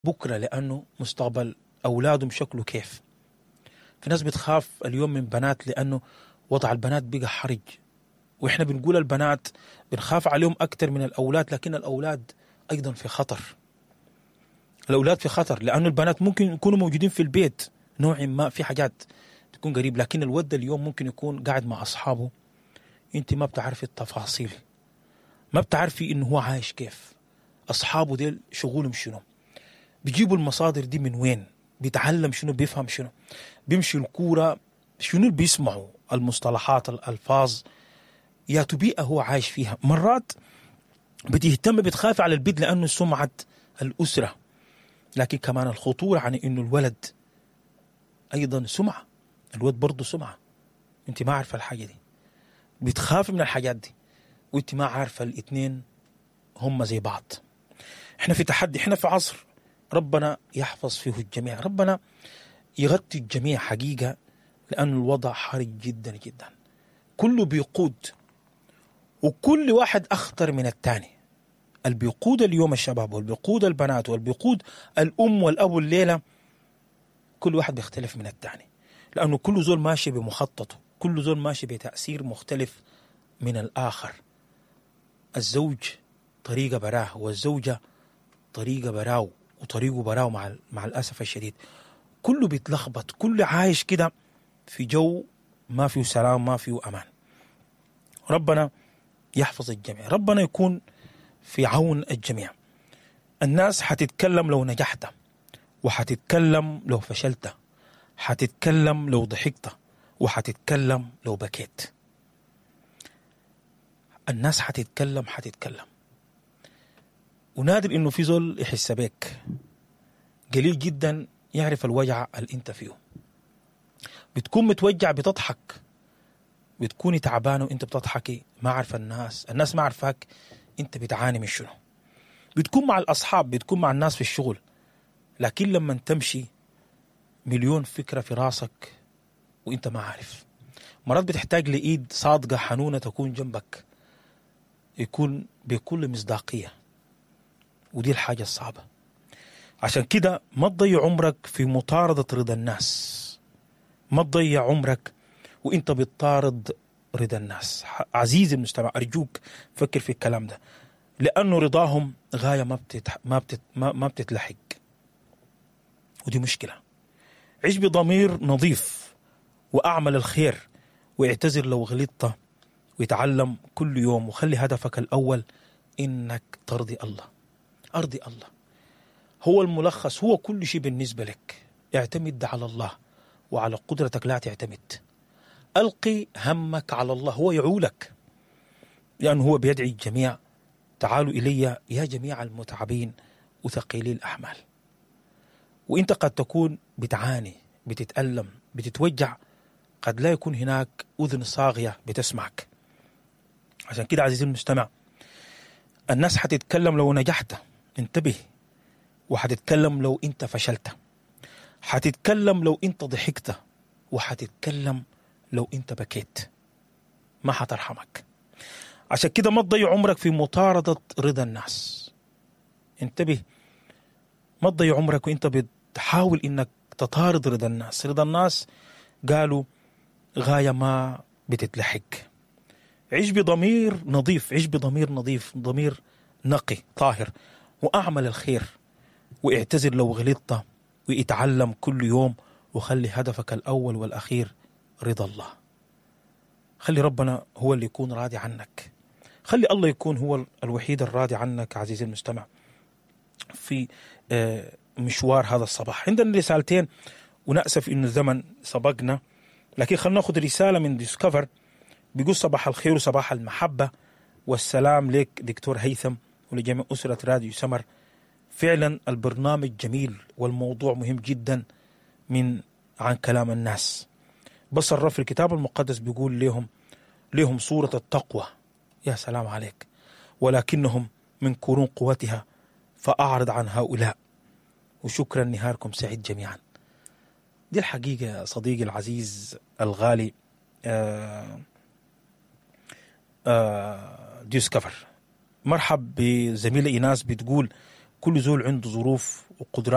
بكرة لأنه مستقبل أولادهم شكله كيف. في ناس بتخاف اليوم من بنات لأنه وضع البنات بقى حرج، وإحنا بنقول البنات بنخاف عليهم أكتر من الأولاد، لكن الأولاد أيضا في خطر. الأولاد في خطر لأنه البنات ممكن يكونوا موجودين في البيت نوع ما في حاجات تكون قريب، لكن الود اليوم ممكن يكون قاعد مع أصحابه، أنت ما بتعرفي التفاصيل، ما بتعرفي إنه هو عايش كيف، أصحابه ديل شغلهم شنو، بيجيبوا المصادر دي من وين، بيتعلم شنو، بيفهم شنو، بيمشي الكورة شنو اللي بيسمعوا، المصطلحات، الألفاظ، يا بيئة هو عايش فيها. مرات بتهتم بتخاف على البيت لأنه سمعة الأسرة، لكن كمان الخطورة عن إنه الولد أيضا سمعة، الولد برضه سمعة، أنت ما عارفة الحاجة دي، بتخاف من الحاجات دي وأنت ما عارفة الاثنين هم زي بعض. احنا في تحدي، احنا في عصر ربنا يحفظ فيه الجميع، ربنا يغطي الجميع حقيقة، لأن الوضع حرج جدا جدا، كله بيقود وكل واحد أخطر من الثاني. اللي بيقود اليوم الشباب، واللي بيقود البنات، واللي بيقود الأم والأبو الليلة، كل واحد بيختلف من الثاني، لأنه كل زول ماشي بمخططه، كل زول ماشي بتأثير مختلف من الآخر. الزوج طريقة براه، والزوجة طريقة براه، وطريقه براه مع الأسف الشديد. كله بيتلخبط، كله عايش كده في جو ما فيه سلام، ما فيه أمان. ربنا يحفظ الجميع، ربنا يكون في عون الجميع. الناس حتتكلم لو نجحت، وحتتكلم لو فشلت، حتتكلم لو ضحكت، وحتتكلم لو بكيت. الناس حتتكلم، حتتكلم. ونادر إنه في زول يحس بك، قليل جدا يعرف الوجع اللي انت فيه. بتكون متوجع بتضحك، بتكوني تعبانة وانت بتضحكي، ما عارفة الناس، الناس ما عارفاك انت بتعاني من شنو. بتكون مع الأصحاب، بتكون مع الناس في الشغل، لكن لما تمشي مليون فكرة في راسك وانت ما عارف. مرات بتحتاج لإيد صادقة حنونة تكون جنبك، يكون بكل مصداقية، ودي الحاجة الصعبة. عشان كده ما تضيع عمرك في مطاردة رضا الناس، ما تضيع عمرك وانت بتطارد رضا الناس. عزيزي المستمع، أرجوك فكر في الكلام ده، لأنه رضاهم غاية ما بتتلحق، ودي مشكلة. عيش بضمير نظيف وأعمل الخير، واعتذر لو غلطت، ويتعلم كل يوم، وخلي هدفك الأول إنك ترضي الله. أرضي الله هو الملخص، هو كل شيء بالنسبة لك. اعتمد على الله وعلى قدرتك لا تعتمد. ألقي همك على الله، هو يعولك، لأنه هو بيدعي الجميع، تعالوا إلي يا جميع المتعبين وثقيلي الأحمال. وإنت قد تكون بتعاني، بتتألم، بتتوجع، قد لا يكون هناك أذن صاغية بتسمعك. عشان كده عزيزي المستمع، الناس حتتكلم لو نجحت، انتبه، وحتتكلم لو انت فشلت، حتتكلم لو انت ضحكت، وحتتكلم لو انت بكيت، ما حترحمك. عشان كده ما تضيع عمرك في مطاردة رضا الناس. انتبه، ما تضيع عمرك وانت بتحاول انك تطارد رضا الناس. رضا الناس قالوا غاية ما بتتلحق. عيش بضمير نظيف، عيش بضمير نظيف، ضمير نقي طاهر، وأعمل الخير، واعتذر لو غلطت، واتعلم كل يوم، وخلي هدفك الأول والأخير رضا الله. خلي ربنا هو اللي يكون راضي عنك، خلي الله يكون هو الوحيد الراضي عنك. عزيزي المستمع، في مشوار هذا الصباح عندنا رسالتين، ونأسف إنه الزمن سبقنا، لكن خلينا ناخذ رسالة من ديسكفر. بيقول صباح الخير وصباح المحبة والسلام لك دكتور هيثم ولجميع أسرة راديو سمر. فعلا البرنامج جميل والموضوع مهم جدا من عن كلام الناس. بس الرب في الكتاب المقدس بيقول لهم صورة التقوى، يا سلام عليك، ولكنهم من قرون قوتها، فأعرض عن هؤلاء. وشكرا، نهاركم سعيد جميعا. دي الحقيقة يا صديقي العزيز الغالي ديسكفر. مرحب بزميلة إيناس، بتقول كل زول عنده ظروف وقدرات.